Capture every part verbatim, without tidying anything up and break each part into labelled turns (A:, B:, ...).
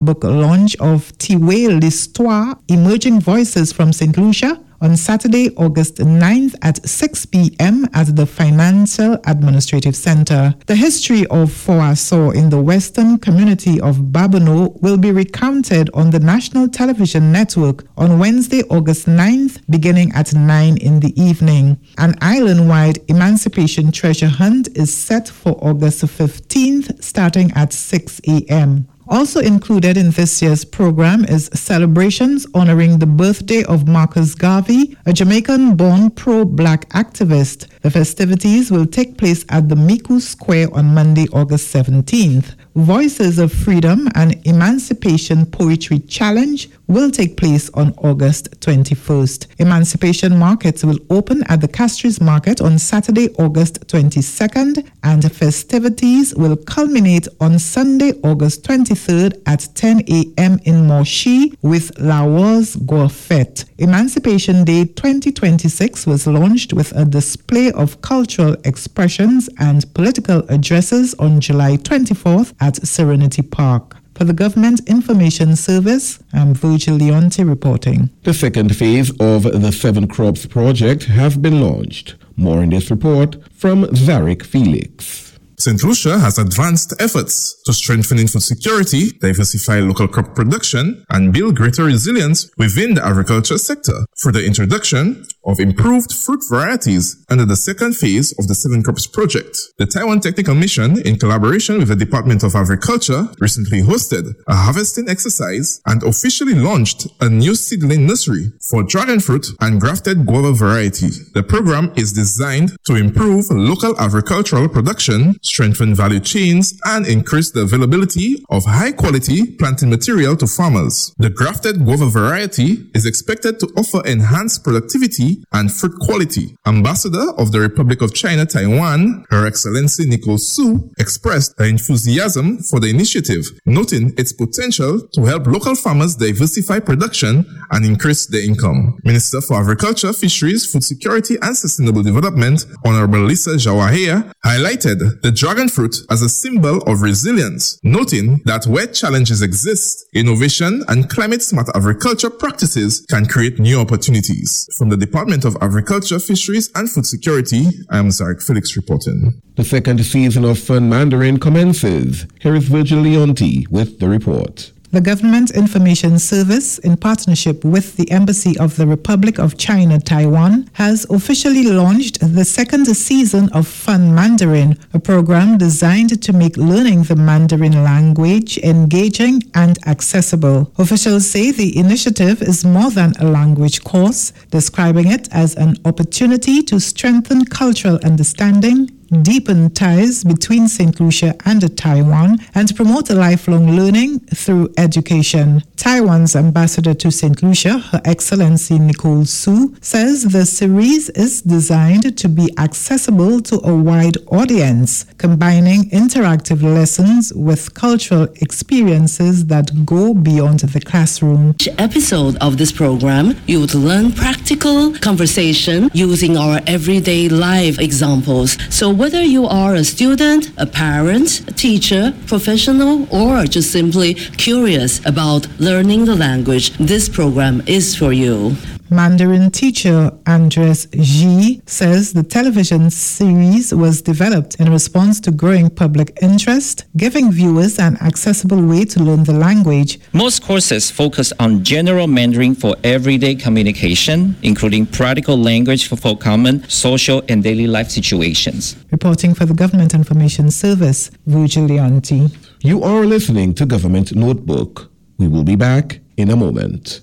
A: Book launch of Tiwé Listwa, Emerging Voices from Saint Lucia, on Saturday, August ninth at six p m at the Financial Administrative Center. The history of Fort in the western community of Babonneau will be recounted on the National Television Network on Wednesday, August ninth, beginning at nine in the evening. An island-wide emancipation treasure hunt is set for August fifteenth, starting at six a m. Also included in this year's program is celebrations honoring the birthday of Marcus Garvey, a Jamaican born pro black activist. The festivities will take place at the Micoud Square on Monday, August seventeenth. Voices of Freedom and Emancipation Poetry Challenge will take place on August twenty-first. Emancipation Markets will open at the Castries Market on Saturday, August twenty-second, and festivities will culminate on Sunday, August twenty-third at ten a m in Monchy with Lawòz Gwafèt. Emancipation Day twenty twenty-six was launched with a display of cultural expressions and political addresses on July twenty-fourth at Serenity Park. For the Government Information Service, I'm Virgil Leonti reporting.
B: The second phase of the Seven Crops project has been launched. More in this report from Zarek Felix.
C: Saint Lucia has advanced efforts to strengthen food security, diversify local crop production, and build greater resilience within the agriculture sector through the introduction of improved fruit varieties under the second phase of the Seven Crops project. The Taiwan Technical Mission, in collaboration with the Department of Agriculture, recently hosted a harvesting exercise and officially launched a new seedling nursery for dragon fruit and grafted guava variety. The program is designed to improve local agricultural production, strengthen value chains, and increase the availability of high quality planting material to farmers. The grafted guava variety is expected to offer enhanced productivity and fruit quality. Ambassador of the Republic of China, Taiwan, Her Excellency Nicole Su, expressed her enthusiasm for the initiative, noting its potential to help local farmers diversify production and increase their income. Minister for Agriculture, Fisheries, Food Security and Sustainable Development, Honorable Lisa Jawahir, highlighted the dragon fruit as a symbol of resilience, noting that where challenges exist, innovation and climate smart agriculture practices can create new opportunities. From the Department of Agriculture, Fisheries and Food Security, I am Zarek Felix reporting.
B: The second season of Fun Mandarin commences. Here is Virgil Leonti with the report.
A: The Government Information Service, in partnership with the Embassy of the Republic of China, Taiwan, has officially launched the second season of Fun Mandarin, a program designed to make learning the Mandarin language engaging and accessible. Officials say the initiative is more than a language course, describing it as an opportunity to strengthen cultural understanding, deepen ties between Saint Lucia and Taiwan, and promote lifelong learning through education. Taiwan's ambassador to Saint Lucia, Her Excellency Nicole Su, says the series is designed to be accessible to a wide audience, combining interactive lessons with cultural experiences that go beyond the classroom.
D: Each episode of this program, you would learn practical conversation using our everyday life examples. So whether you are a student, a parent, a teacher, professional, or just simply curious about learning the language, this program is for you.
A: Mandarin teacher Andres Ji says the television series was developed in response to growing public interest, giving viewers an accessible way to learn the language.
E: Most courses focus on general Mandarin for everyday communication, including practical language for, for common social and daily life situations.
A: Reporting for the Government Information Service, Virgil Leonti.
B: You are listening to Government Notebook. We will be back in a moment.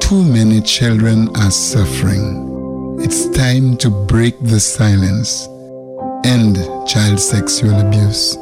F: Too many children are suffering. It's time to break the silence. End child sexual abuse.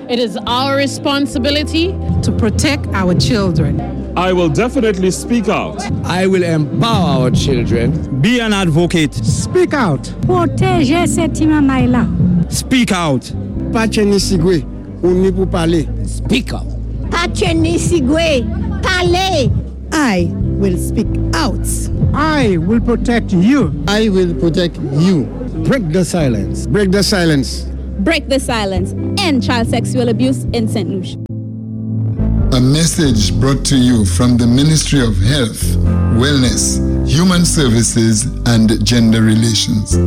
G: It is our responsibility
H: to protect our children.
I: I will definitely speak out.
J: I will empower our children.
K: Be an advocate.
L: Speak out.
M: Pwotéjé sé ti manmay la.
K: Speak out.
N: Pa tjenni sigwé, ou ni pou palé.
J: Speak out.
O: Pa tjenni sigwé, palé.
H: I will speak out.
L: I will protect you.
N: I will protect you.
J: Break the silence.
N: Break the silence.
P: Break the silence. End end child sexual abuse in Saint Lucia.
F: A message brought to you from the Ministry of Health, Wellness, Human Services and Gender Relations.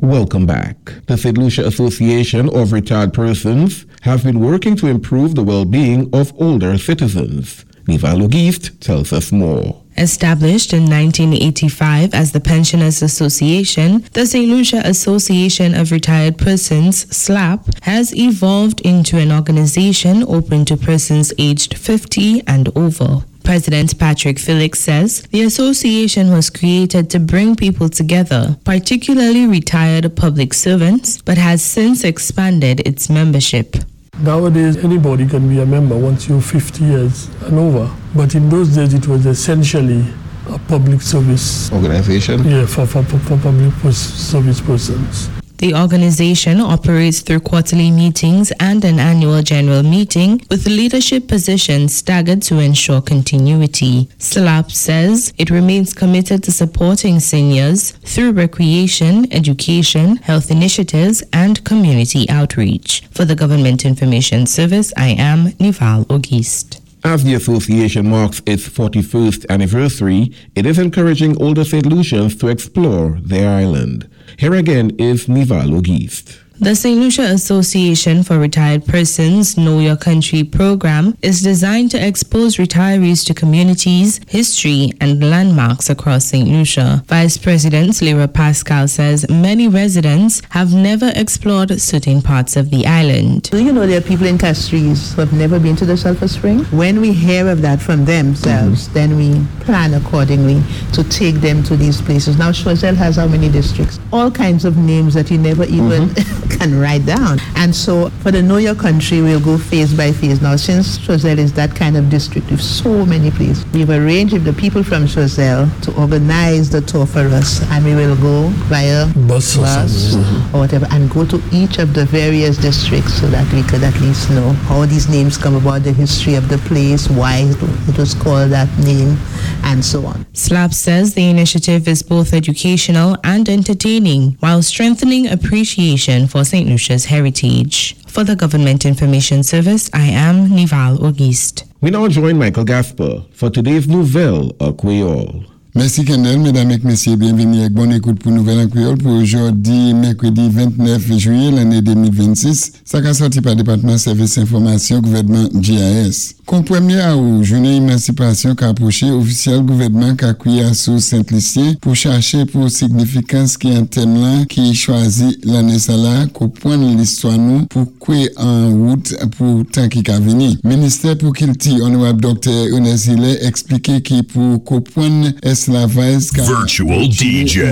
B: Welcome back. The Saint Lucia Association of Retired Persons have been working to improve the well-being of older citizens. Nival Auguste tells us more.
Q: Established in nineteen eighty-five as the Pensioners Association, the Saint Lucia Association of Retired Persons, SLAP, has evolved into an organization open to persons aged fifty and over. President Patrick Felix says the association was created to bring people together, particularly retired public servants, but has since expanded its membership.
R: Nowadays, anybody can be a member once you're fifty years and over. But in those days, it was essentially a public service
B: organization.
R: Yeah, for, for, for public service persons.
Q: The organization operates through quarterly meetings and an annual general meeting, with leadership positions staggered to ensure continuity. SLAP says it remains committed to supporting seniors through recreation, education, health initiatives, and community outreach. For the Government Information Service, I am Nival Auguste.
B: As the association marks its forty-first anniversary, it is encouraging older Saint Lucians to explore their island. Here again is Nival Auguste.
Q: The Saint Lucia Association for Retired Persons Know Your Country program is designed to expose retirees to communities, history, and landmarks across Saint Lucia. Vice President Lyra Pascal says many residents have never explored certain parts of the island.
S: Do you know there are people in Castries who have never been to the Sulphur Spring? When we hear of that from themselves, mm-hmm. then we plan accordingly to take them to these places. Now, Choiseul has how many districts? All kinds of names that you never even mm-hmm. can write down. And so for the Know Your Country, we'll go phase by phase. Now, since Choiseul is that kind of district with so many places, we've arranged with the people from Choiseul to organize the tour for us, and we will go via
R: bus,
S: bus or, or whatever, and go to each of the various districts so that we could at least know how these names come about, the history of the place, why it was called that name, and so on.
Q: SLAP says the initiative is both educational and entertaining, while strengthening appreciation for Saint Lucia's heritage. For the Government Information Service, I am Nival Auguste.
B: We now join Michael Gasper for today's Nouvèl an Kwéyòl.
F: Mèsi Kendall, médam èk mésyé, byenvini èk bon ékout pou Nouvèl an Kwéyòl pou jòdi mèkwédi ventnèf jwiyé lanné de mil vennsis, sa ka sòti pa Dépatman Sèvis Enfòmasyon Gouvèdman G I S. Kon pwémyé awou, jounen Émansipasyon ka apwoché, ofisyèl gouvèdman ka kwiyé sou Sent-Lisyen pou chaché pou signifikans ki an tèm lan ki chwazi lanné sa la konpwann listwa nou pou kwe an wout pou tan ki ka vini. Ministè pou Kilti, Onorab Doktè Ernest Hilaire, ekspliké ki pou konpwann esklavay ka
T: Virtual D J.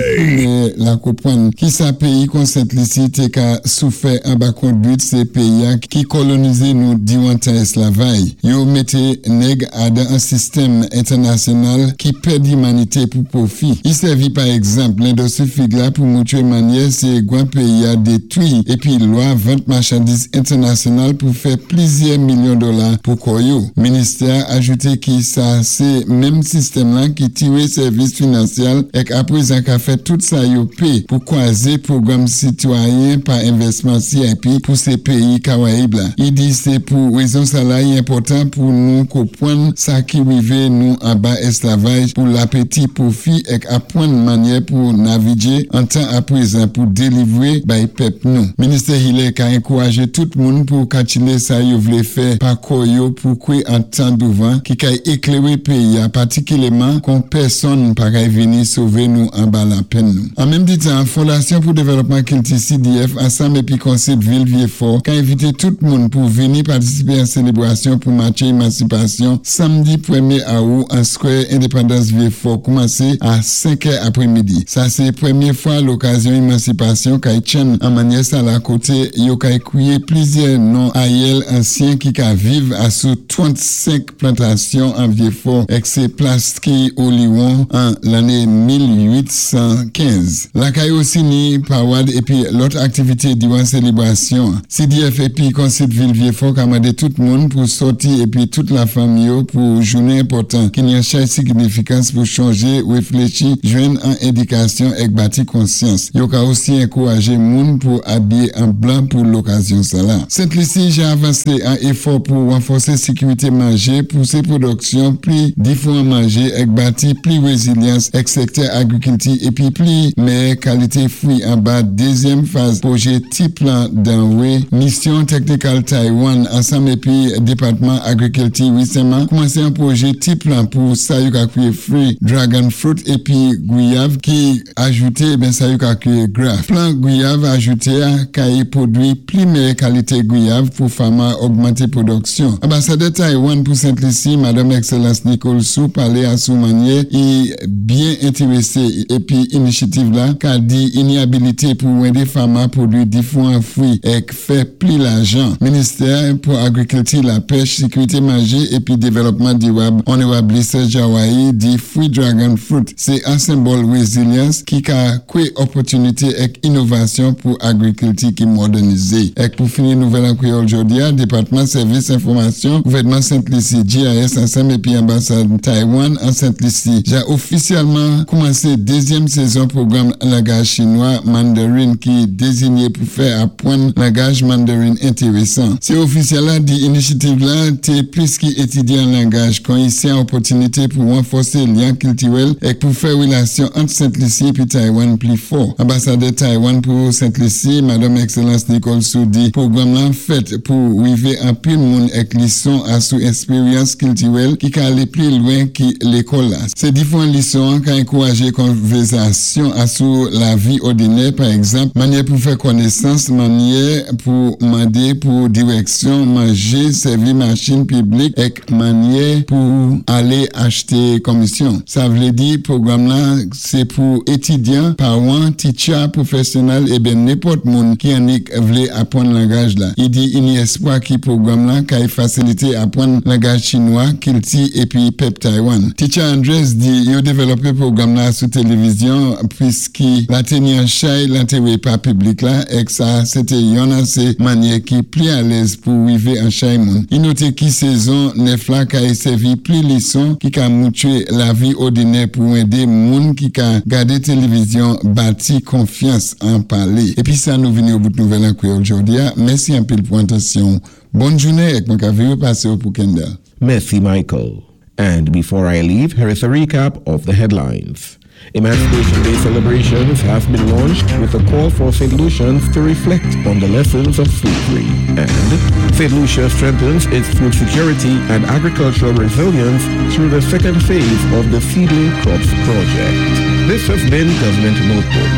F: La konpwann ki sa péyi kon Sent-Lisi té ka soufè anba kondwit sé péyi ki kolonizé nou diwan tan esklavay. Yo mété nèg adan an sistèm entènasyonal ki pèdi imanité pou pwofi. I sèvi pa egzanp lendistri fig la pou moutwé mannyè sé gwan péyi a détwi épi lwa vant machandiz entènasyonal pou fè plizyè milyon dola pou kò yo. Ministè ajouté ki sa sé menm sistèm lan ki tiwé sèvis finansyal èk apwézan ka fè tout sa yo pé pou kwazé pwogram Sitwayen pa Envèsman C I P pou sé péyi Karayib la. I di sé pou wézon sa la yi enpòtan pou nou konpwann sa ki wivé nou anba esklavaj pou lapéti pwofi èk apwann mannyè pou navigé an tan apwézan pou délivwé bay pèp nou. Ministè Hilaire ka ankourajé tout moun pou katchilé sa yo vlé fè pa kò yo pou kwe an tan douvan ki kay ékléwé péyi a patikiléman kon pèsonn pa kay vini sové nou anba lapenn nou. An menm ti tan, Fondasyon pou Dévèlopman Kilti C D F ansanm épi Konsèy Vil Vieux-Fort ka envité tout moun pou vini patisipé an sélébrasyon pou matché Émansipasyon samdi pwémyé awou an Square Indépendance Vieux-Fort koumansé a senk è apwémidi. Sa sé pwémyé fwa lokazyon Émansipasyon kay tchann an mannyè sa la koté yo kay kwiyé plizyè non ayèl ansyen ki ka viv asou trannsenk plantasyon an Vieux-Fort èk sé plas ki Oliwon. Japon an lanné mil uit san kenz. Lakay osi ni pawad épi lòt aktivité diwan sélébrasyon. C D F épi Konsid Vil Vyéfò ka mandé tout moun pou sòti épi tout lafanmi yo pou jounen enpòtan ki ni an chay signifikans pou chanjé, wéfléchi, jwenn an édikasyon èk bati konsyans. Yo ka osi ankourajé moun pou abiyé an blan pou lokazyon sa la. Sent Lisi ja avansé an éfò pou ranfòsé sékirité manjé, pousé pwodiksyon pli diféwan manjé èk bati pli wézilyans èk sèktè agrikilti épi pli mèyè kalité fwi anba dézyèm faz pwojé Ti Plan Danwé. Misyon Technical Taiwan ansanm épi Dépatman Agrikilti wésanman koumansé an pwojé Ti Plan pou sa yo ka kwiyé fwi dragon fruit épi gwiyav ki ajouté ben sa yo ka kwiyé graft. Plan gwiyav ajouté a kay pwodwi pli mèyè kalité gwiyav pou fama ogmanté pwodiksyon. Anbasadè Taiwan pou Sent Lisi, Madame Excellence Nicole Su, palé asou mannyè i byen entéwésé épi inisyativ la ka di i ni abilité pou wendé fama pwodwi diféwan fwi èk fè pli lajan. Ministè pou Agrikilti, Lapèch, Sékirité Manjé épi Dévélopman Diwab, Onorab Lisa Jawai, di fwi dragon fruit sé an senbòl wézilyans ki ka kwé opòtinité èk inovasyon pou agrikilti ki modènizé. Èk pou fini nouvèl an kwéyòl jòdi a, Dépatman Sèvis Enfòmasyon, Gouvèdman Sent Lisi, G I S ansanm épi Anbasad Taiwan an Sent Lisi, ja ofisyèlman koumansé dézyèm sézon pwogram langaj chinwa Mandarin ki dézinyé pou fè apwann langaj Mandarin entérésan. Sé ofisyèl la di inisyativ la té plis ki étidyé an langaj kon i sé an opòtinité pou ranfòsé lyen kiltiwèl èk pou fè wélasyon ant Sent Lisi épi Taiwan pli fò. Anbasadè Taiwan pou Sent Lisi, Madame Excellence Nicole Su, di pwogram lan fèt pou wivé anpil moun èk lison asou èksperyans kiltiwèl ki ka alé pli lwen ki lékòl la. Sé diféwan lison ka ankourajé konvèzasyon asou lavi òdinè, pa egzanp, mannyè pou fè konésans, mannyè pou mandé pou diwèksyon, manjé, sèvi machin piblik èk mannyè pou alé achté konmisyon. Sa vlé di pwogram la sé pou étidyan, pawan, teacher, pwofèsyonèl ébyen nenpòt moun ki annik vlé apwann langaj la. I di i ni èspwa ki pwogram la kay fasilité apwann langaj chinwa, kilti épi pèp Taiwan. Teacher Andres di yo dévélopé pwogram la sou télévizyon pwiski la té ni an chay lentéwé pa piblik la èk sa sété yon asé mannyè ki pli alèz pou wivé an chay moun. I noté ki sézon nèf la kay sèvi pli lison ki ka moutwé lavi òdinè pou wendé moun ki ka gadé télévizyon bati konfyans an palé. Épi sa nou vini o bout nouvèl an kwéyòl jòdi a. Mèsi anpil pou atansyon. Bòn jounen èk mwen ka viré pasé ou pou Kendall.
B: Mèsi, Michael. And before I leave, here is a recap of the headlines. Emancipation Day celebrations have been launched with a call for Saint Lucians to reflect on the lessons of slavery. And Saint Lucia strengthens its food security and agricultural resilience through the second phase of the Seedling Crops Project. This has been Government Notebook.